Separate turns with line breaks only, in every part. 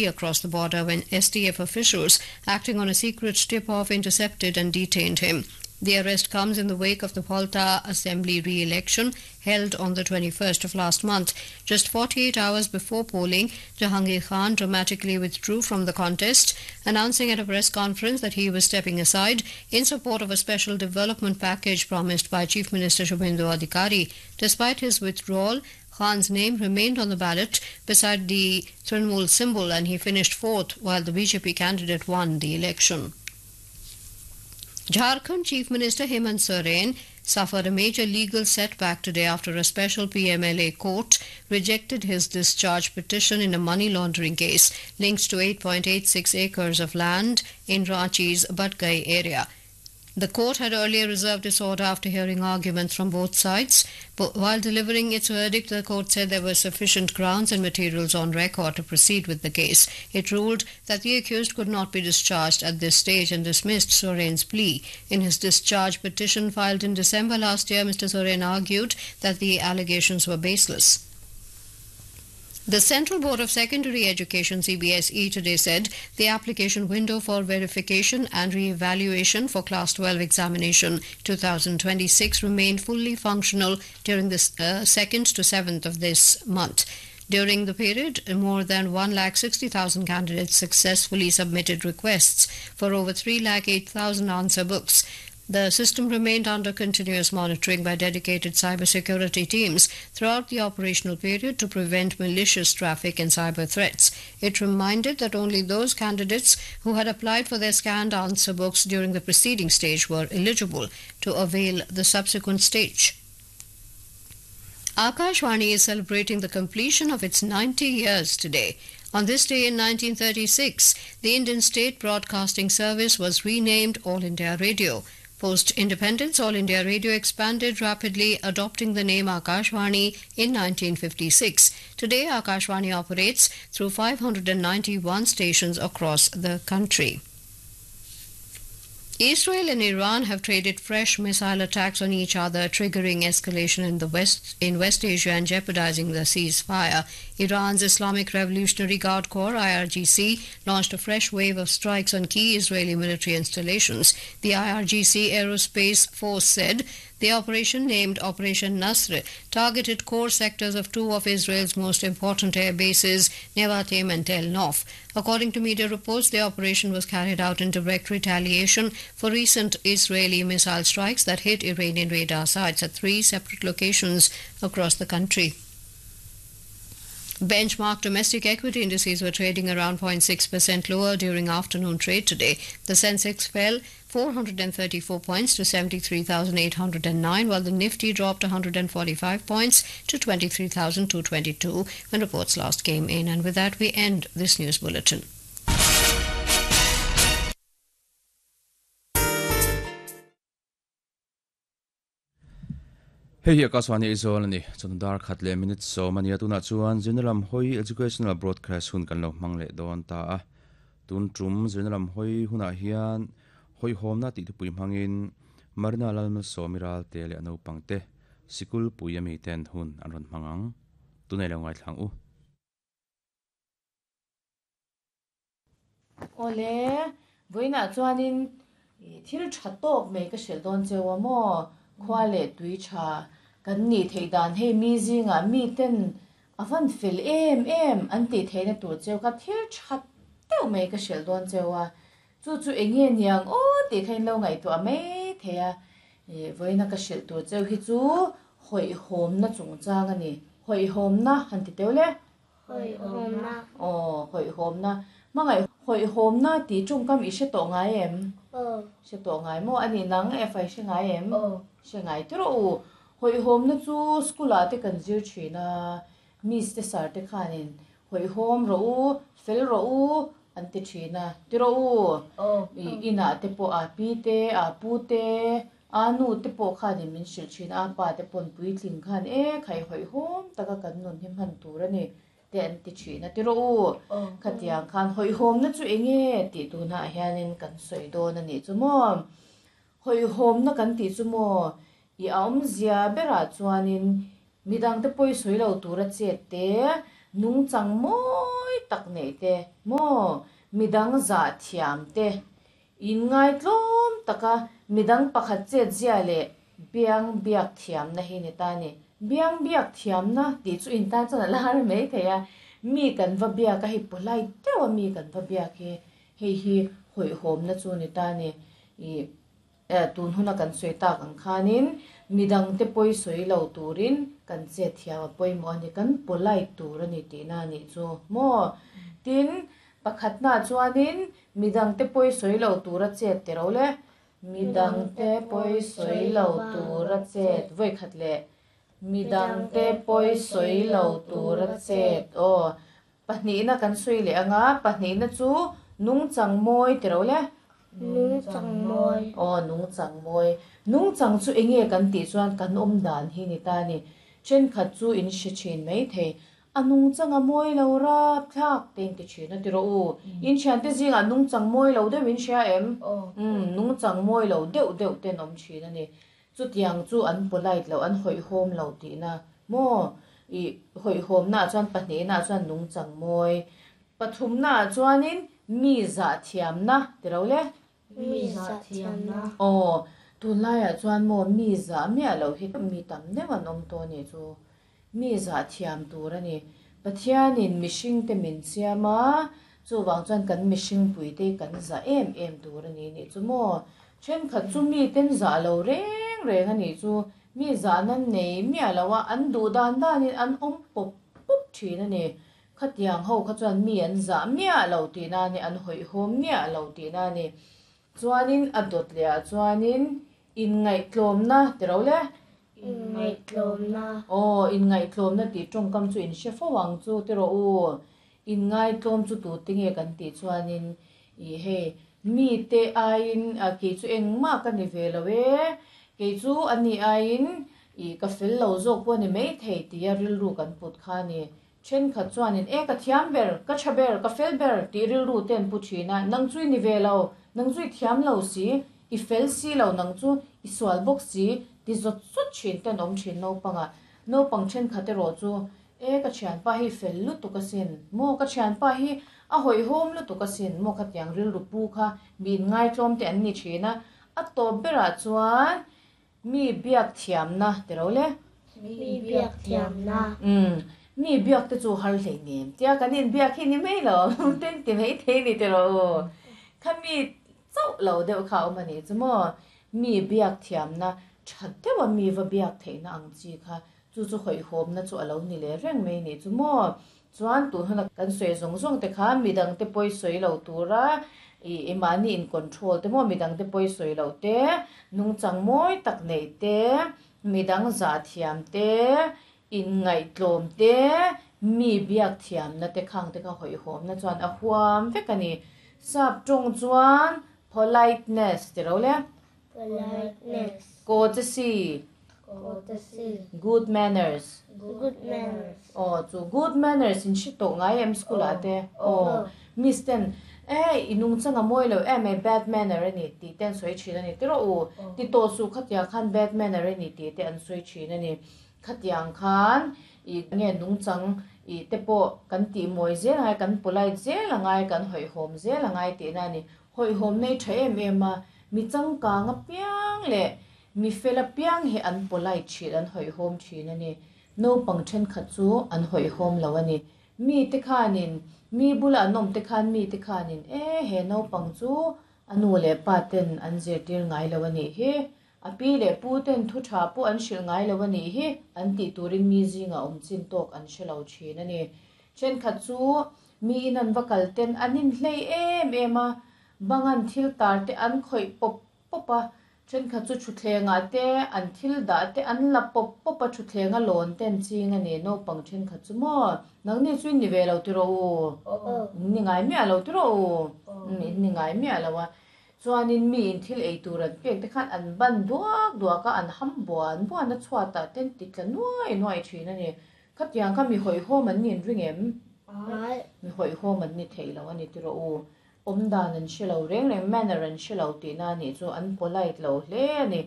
Across the border when STF officials, acting on a secret tip-off, intercepted and detained him. The arrest comes in the wake of the Palta Assembly re-election held on the 21st of last month. Just 48 hours before polling, Jahangir Khan dramatically withdrew from the contest, announcing at a press conference that he was stepping aside in support of a special development package promised by Chief Minister Shubhendu Adhikari. Despite his withdrawal, Khan's name remained on the ballot beside the Trinamool symbol and he finished fourth while the BJP candidate won the election. Jharkhand Chief Minister Hemant Soren suffered a major legal setback today after a special PMLA court rejected his discharge petition in a money laundering case linked to 8.86 acres of land in Ranchi's Badgai area. The court had earlier reserved its order after hearing arguments from both sides. But while delivering its verdict, the court said there were sufficient grounds and materials on record to proceed with the case. It ruled that the accused could not be discharged at this stage and dismissed Soren's plea. In his discharge petition filed in December last year, Mr. Soren argued that the allegations were baseless. The Central Board of Secondary Education CBSE today said the application window for verification and re-evaluation for Class 12 examination 2026 remained fully functional during the 2nd to 7th of this month. During the period, more than 1,60,000 candidates successfully submitted requests for over 3,08,000 answer books. The system remained under continuous monitoring by dedicated cybersecurity teams throughout the operational period to prevent malicious traffic and cyber threats. It reminded that only those candidates who had applied for their scanned answer books during the preceding stage were eligible to avail the subsequent stage. Akashvani is celebrating the completion of its 90 years today. On this day in 1936, the Indian State Broadcasting Service was renamed All India Radio. Post-independence, All India Radio expanded rapidly, adopting the name Akashvani in 1956. Today, Akashvani operates through 591 stations across the country. Israel and Iran have traded fresh missile attacks on each other, triggering escalation in the West in West Asia and jeopardizing the ceasefire. Iran's Islamic Revolutionary Guard Corps (IRGC) launched a fresh wave of strikes on key Israeli military installations. The IRGC Aerospace Force said the operation, named Operation Nasr, targeted core sectors of two of Israel's most important air bases, Nevatim and Tel Nof. According to media reports, the operation was carried out in direct retaliation for recent Israeli missile strikes that hit Iranian radar sites at three separate locations across the country. Benchmark domestic equity indices were trading around 0.6% lower during afternoon trade today. The Sensex fell 434 points to 73,809, while the Nifty dropped 145 points to 23,222 when reports last came in. And with that, we end this news bulletin.
Hei hi Akashvani Aizawl ani chawhnu dar khat leh minute sawm ania tunah chuan Zirna Hawi Educational Broadcast hun kan lo hmang leh dawn ta a tun tum Zirna lam hawi hunah hian hawihhawmna tih thupui hmangin Marina Lalmalsawmi Ralte leh a naupang te sikul pui ami ten hun an rawn hmang ang tunei lo ngaithlang u.
Awle, vawiinah chuanin thil tha tawk mai ka hrilh dawn cheu a maw? Khua leh tui tha kan nih theih dan hei mi zingah miten a van fel em em an tih theihna tur cheu kha thil tha deuh mai ka hrilh dawn cheu a, chu chu eng nge niang aw tih kha in lo ngaihtuah mai thei a, vawiina ka hrilh tur cheu hi chu hawihhawmna chungchang a ni, hawihhawmna han ti teuh le.
Hawihhawmna.
Aw, hawihhawmna. Hmangaih hawihhawmna tih tawngkam i hre tawh ngai em?
Aw.
Hre tawh ngai maw? Ani nang e fai hre ngai em?
Aw.
Hre ngai tawh rawh u. Hawihhawmna chu school ah te kan zir thin a, miss te sir te khanin hawihhawm rawh u, fel rawh u an ti thin a, ti rawh u.
Aw.
I inah te pawh a pi te, a pu te, A nu te pawh khanin min hrilh thin a, pa te pawn puitling khan e khai hawihhawm taka kan nun hi hman tur a ni te an ti thin a ti rawh u. Khatiang khan hawihhawmna chu eng nge tih tunah hianin kan sawi dawn a nih chu maw. Hawihhawmna kan tih chu maw i a awmzia berah chuanin midangte pawi sawi lo tura chet te, nungchang mawi tak neih te maw midang zah thiam te inngaitlawm taka midang pakhat chet zia leh biang biak thiamna hi ni ta ni. Biang biak thiamna tih chu in tan chuan a lar mai thei a, mi kan va biak a hei polite deuh a mi kan va biak hi hei hi hawihhawmna chu ni ta ni. Ih tun huna kan sawi tak ang khanin midangte pawi sawi lo turin kan chet thiam a pawimawh a ni, kan polite tur a ni tihna a nih chu maw? Tin, pakhatnaah chuanin midangte pawi sawi lo tura chet ti ro le, midangte pawi sawi lo tura chet vawi khat leh midangte pawi sawi lo tura chet aw. Pahnihna kan sawi leh ang a, pahnihna chu nungchang mawi ti ro le.
Nungchang mawi.
Aw, nungchang mawi. Nungchang chu eng nge kan tih chuan kan awm dan hi ni ta a ni. Thenkhat chu in hre thin mai thei. A nungchang a mawi lo rapthlak te in ti thin a ti rawh u. In thiante zingah nungchang mawi lo deuh in hria em? Umm, nungchang mawi lo deuh deuh ten awm thin a ni. Chutiang chu an polite lo, an hawihhawm lo tihna maw? Ih, hawihhawmnaah chuan pahnihnaah chuan nungchang mawi, pathumnaah chuanin mi zahthiamna ti lo le?
Mi zahthiamna.
Aw, tunlaiah chuan maw mi zah miah loh hi mi tam deuh an awm tawh a nih chu. Mi zahthiam tur a ni. Pathianin mihringte min siam a, chuvang chuan kan mihringpuite hi kan zah em em tur a ni nih chu maw? Thenkhat chu miten zah lo reng reng a nih chu. Mi zahna nei miah lo a, an duh dan danin an awm pawp pawp thin a ni. Khatiang ho kha chuan mi an zah miah lo tihna a ni, an hawihhawm miah lo tihna a ni. Chuanin a dawt leh ah chuanin inngaihtlawmna ti ro le.
Inngaihtlawmna.
Aw, inngaihtlawmna tih tawngkam chu in hre fo ang chu ti rawh u. Inngaitlawm chu tute nge kan tih chuanin ih hei mite aiin kei chu engmah ka ni ve lo e, kei chu ani aiin ih ka fel lo zawk pawh a ni maithei tia rilru kan put kha a ni. Thenkhat chuanin, E ka thiam ber, ka tha ber, ka fel ber tih rilru te an pu thin a, nang chu i ni ve lo, nang chu i thiam lo si, i fel si lo, nang chu i sual bawk si ti zawt zawt thin te an awm thin naupangah. Naupang thenkhat erawh chu, E ka thianpa hi fel lutuk asin, maw ka thianpa hi a hawihhawm lutuk asin, maw khatiang rilru pu kha mi inngaitlawm te an ni thin a, a tawp berah chuan Mi biak thiamna ti ro le.
Mi biak thiamna.
Umm, mi biak te chu har hlei nem tia kan inbiak hi ni mai lo, ten ti mai thei ni ti rawh u. Kha mi chauh lo deuh kha a awm a nih chu maw? Mi biak thiamna tha deuha mi va biak theihna ang chi kha chu chu hawihhawmna chu a lo ni leh reng mai nih chu maw? Chuan tun huna kan sawi zawng zawng te kha midang te pawi sawi lo tura i mahni in control te maw midang te pawi sawi loh te, nungchang mawi tak neih te, midang zah thiam te, inngaihtlawm te, mi biak thiamna te khang te kha hawihhawmna chuan a huam vek a ni. Sap tawng chuan politeness ti ro le.
Politeness.
Courtesy.
Courtesy.
Good manners.
Good manners.
Aw chu good manners in hre tawh ngai em school ah te? Aw miss ten e i nungchang a mawi lo em e bad manner a ni tih te an sawi thin a ni tiraw u ti tawh suh khatiang khan bad manner a ni tih te an sawi thin a ni. Khatiang khan i nge nungchang i te pawh kan tih mawi zel angai kan polite zel angai kan hawihhawm zel angai tihna a ni. Hawihhawm nei tha em em a, mi changkang apiang leh mi fel apiang hi an polite thin, an hawihhawm thin a ni. Naupang thenkhat chu an hawihhawm lo a ni. Mite khanin, mi bula an awm te khan mite khanin, E he naupang chu a nu leh pa ten an zirtir ngai lo a nih hi, a pi leh pu ten thu tha pawh an hrilh ngai lo a nih hi, an tih turin mi zingah awm chin tawk an hre lo thin a ni. Thenkhat chu Mi in an va kal ten an inhlei em em a, bang an thil tar te an khawih pawp pawp a, thenkhat chu thutthlengah te an thil dah te an la pawp pawp a, thutthleng a lawn te an ching a ni, naupang thenkhat chu maw nangni chu in ni ve lo tiraw u? In ni ngai miah lo tiraw u? In ni ngai miah lo a, chuanin mi in thil ei tur an pek te khan an ban duak duak a, an ham buan buan a chhuatah te an ti tla nuai nuai thin a ni. Khatiang kha mi hawihhawm an nin ring em? Mi hawihhawm an ni thei lo a ni tiraw u. Awm dan an hre lo reng reng, manner an hre lo tihna a nih chu an polite lo hle a ni.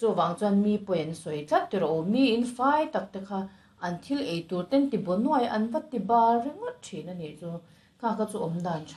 Chuvang chuan mi pawi an sawi tlat tiraw u. Mi in fai tak te kha an thil ei tur ten ti baw nuai an va ti bar ringawt thin a nih chu. Kha kha chu awm dan tha.